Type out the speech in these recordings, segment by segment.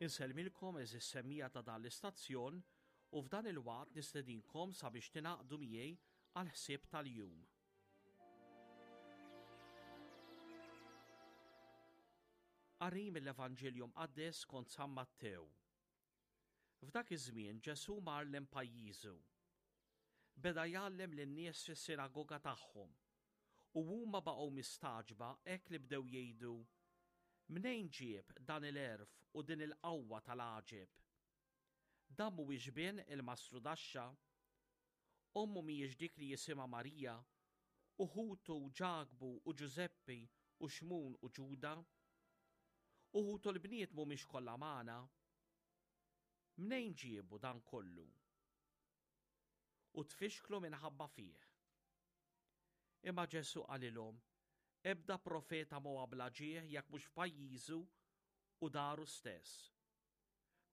Insellmilkom għeżież semmiegħa ta' dan l-istazzjon u f'dan il-waqt nistedinkom sabiex tingħaqdu miegħi għall-ħsieb tal-jum. Qari mill-Evanġelju Mqaddes skont San Mattew. F'dak iż-żmien Ġesù mar lejn pajjiżu. Beda jgħallem lin-nies fis-sinagoga tagħhom, u huma baqgħu mistagħġba hekk li bdew jgħidu, Mnejn ġieb dan il-għerf u din il-qawwa tal-għaġeb? Dan mhuwiex bin il-mastrudaxxa? Ommu mhijiex dik li jisimha Marija, u ħutu Ġakbu u Ġużeppi u Xmun u Ġuda? U ħutu l-bniet mhumiex kollha magħna? Mnejn ġiebu dan kollu? U tfixklu minħabba fih. Imma Ġesù qalilhom, Ebda profeta m'huwa bla ġieħ jekk mhux f'pajjiżu u daru stess.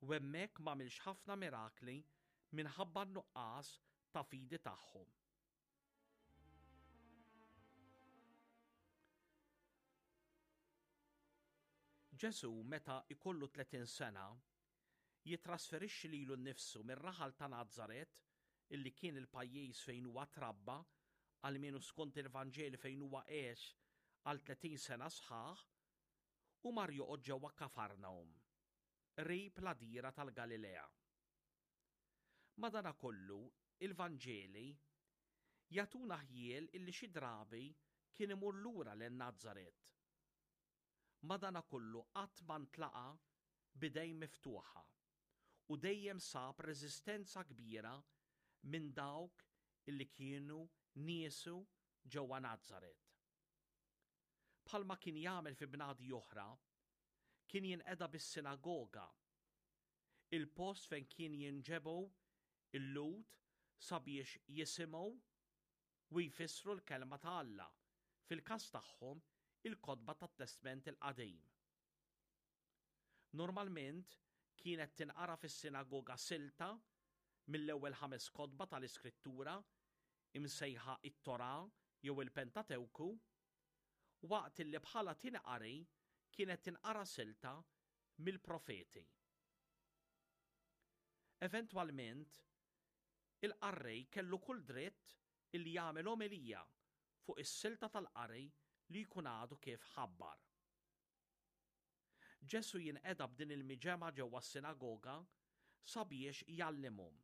U hemmhekk m'għamilx ħafna mirakli minħabba n-nuqqas ta' fidi tagħhom. Ġesù meta jkollu 30 sena jittrasferixxi lilu nnifsu mir-raħal ta' Nazaret, illi kien il-pajjiż fejn huwa trabba, almenu skont il-Vanġeli fejn huwa għex għal 30 sena sħaħ, u mar joqgħod ġewwa Kafarnahum, qrib l-għadira tal-Galilea. Madanakollu, il-Vanġeli jagħtuna ħjiel illi xi drabi kien imur lura lejn Nazaret. Madanakollu qatt ma ntlaqa' b'idejn miftuħa u dejjem sab reżistenza kbira minn dawk illi kienu niesu ġewwa Nazaret. Bħalma kien jagħmel fi bnadi oħra, kien jinqeda bis-sinagoga il-post fejn kien jinġebgħu l-Lhud sabiex jisimgħu u jfissru l-Kelma ta' Alla, fil-każ tagħhom il-kotba tat-Testment il-Qadim. Normalment kienet tinqara fis-sinagoga silta mill-ewwel ħames kotba tal-Iskrittura, imsejħa it-Torah jew il-Pentatewku, waqt illi bħala tieni qari kienet tinqara silta mill-profeti. Eventwalment, il-qarrej kellu kull dritt illi jagħmel omelija fuq is-silta tal-qari li jkun għadu kif ħabbar. Ġesù jinqeda b'din il-miġemgħa ġewwa s-sinagoga sabiex jgħallimhom.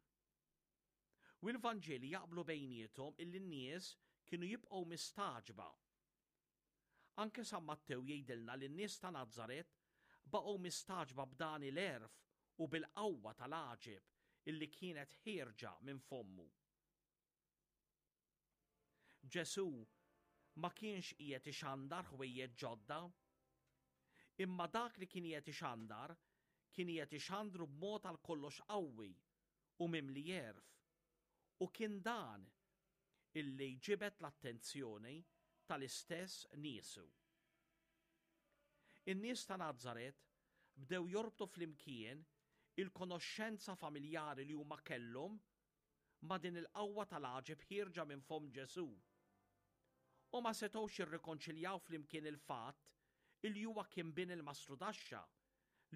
U l-Vanġeli jaqblu bejniethom illi n-nies kienu jibqgħu mistagħġba Anke San Mattew jgħidilna li n-nies ta' Nazaret baqgħu mistagħġba b'dan il-għerf u bil-qawwa tal-għaġeb illi kienet ħierġa minn fommu. Ġesù ma kienx qiegħed ixandar ħwejjeġ ġodda, imma dak li kien qiegħed ixandar kien qiegħed ixandru b'mod għal kollox qawwi u mimli għerf, u kien dan illi ġibed l-attenzjoni tal-istess niesu. In-nies ta' Nazaret bdew jorbtu flimkien il-konoxxenza familjari li huma kellhom ma' din il-qawwa tal-għaġeb ħierġa minn fomm Ġesù. U ma setgħux jirrikonċiljaw flimkien il-fatt illi huwa kien bin il-mastrudaxxa,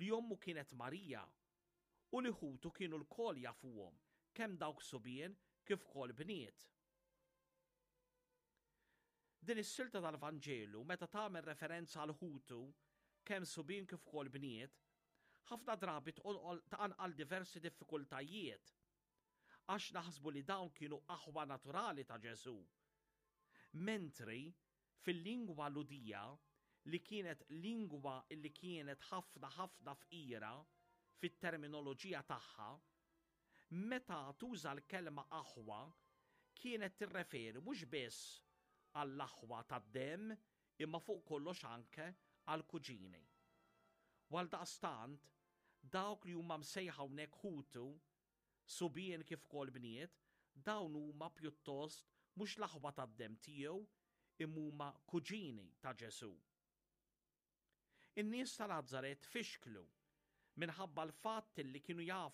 li ommu kienet Marija, u li ħutu kienu lkoll jafuhom, kemm dawk subien kif ukoll bniet. Din is-silta tal-Vanġelu meta tagħmel referenza għal ħutu, kemm subien kif ukoll bniet, ħafna drabi tqanqal diversi diffikultajiet għax naħsbu li dawn kienu aħwa naturali ta' Ġesù. Mentri Fil-lingwa Lhudija, li kienet lingwa li kienet ħafna ħafna fqira fit-terminoloġija tagħha, meta tuża l-kelma aħwa kienet tirreferi mhux biss għall-aħwa tad-demm imma fuq kollox anke għall-kuġini. U għaldaqstant, dawk li huma msejħa hawnhekk ħutu subien kif ukoll bniet, dawn huma pjuttost mhux l-aħwa tad-demm tiegħu imma huma kuġini ta' Ġesù. In-nies ta' Nazaret fixklu minħabba l-fatt li kienu jafu.